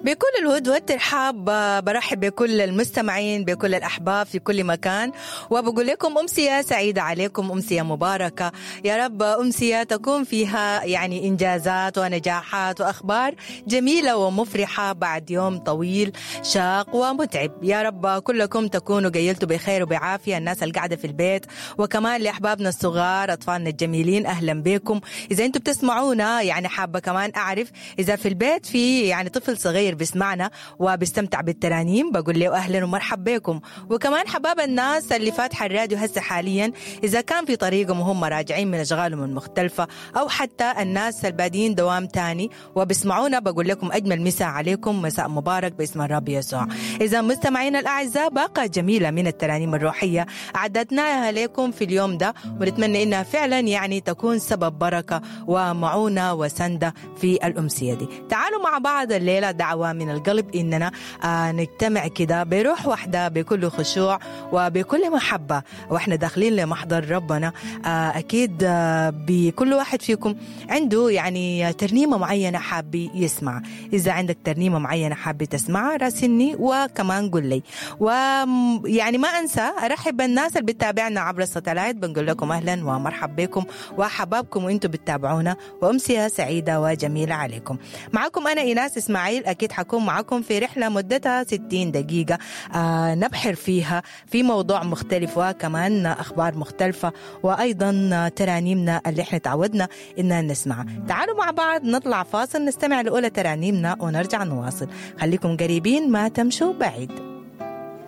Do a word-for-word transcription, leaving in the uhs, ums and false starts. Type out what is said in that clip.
بكل الود والترحاب برحب بكل المستمعين، بكل الأحباب في كل مكان، وبقول لكم أمسية سعيدة عليكم، أمسية مباركة يا رب، أمسية تكون فيها يعني إنجازات ونجاحات وأخبار جميلة ومفرحة بعد يوم طويل شاق ومتعب. يا رب كلكم تكونوا قيلتوا بخير وبعافية، الناس اللي قاعدة في البيت، وكمان لأحبابنا الصغار أطفالنا الجميلين أهلا بكم. إذا أنتم بتسمعونا يعني حابة كمان أعرف إذا في البيت في يعني طفل صغير بيسمعنا وبيستمتع بالترانيم، بقول له أهلا ومرحب بكم. وكمان حباب الناس اللي فاتحة الراديو هسه حاليا، إذا كان في طريقهم وهم راجعين من أشغالهم المختلفة، أو حتى الناس البادين دوام تاني وبيسمعونا، بقول لكم أجمل مساء عليكم، مساء مبارك باسم الرب يسوع. إذا مستمعينا الأعزاء، باقة جميلة من الترانيم الروحية أعددناها لكم في اليوم ده، ونتمنى إنها فعلا يعني تكون سبب بركة ومعونة وسندة في الأمسية دي. تعالوا مع بعض الليلة دعوة من القلب إننا آه نجتمع كده بروح واحدة، بكل خشوع وبكل محبة، وإحنا داخلين لمحضر ربنا. آه أكيد آه بكل واحد فيكم عنده يعني ترنيمة معينة حابي يسمع. إذا عندك ترنيمة معينة حابي تسمعها راسلني وكمان قل لي. ويعني ما أنسى أرحب بالناس اللي بتتابعنا عبر الساتلايت، بنقول لكم أهلا ومرحب بكم وحبابكم وإنتم بتتابعونا، وأمسية سعيدة وجميلة عليكم. معكم أنا إيناس إسماعيل، أكيد حكون معكم في رحلة مدتها ستين دقيقة آه نبحر فيها في موضوع مختلف وكمان أخبار مختلفة، وأيضا ترانيمنا اللي احنا تعودنا إننا نسمعها. تعالوا مع بعض نطلع فاصل نستمع لأولى ترانيمنا ونرجع نواصل. خليكم قريبين ما تمشوا بعيد.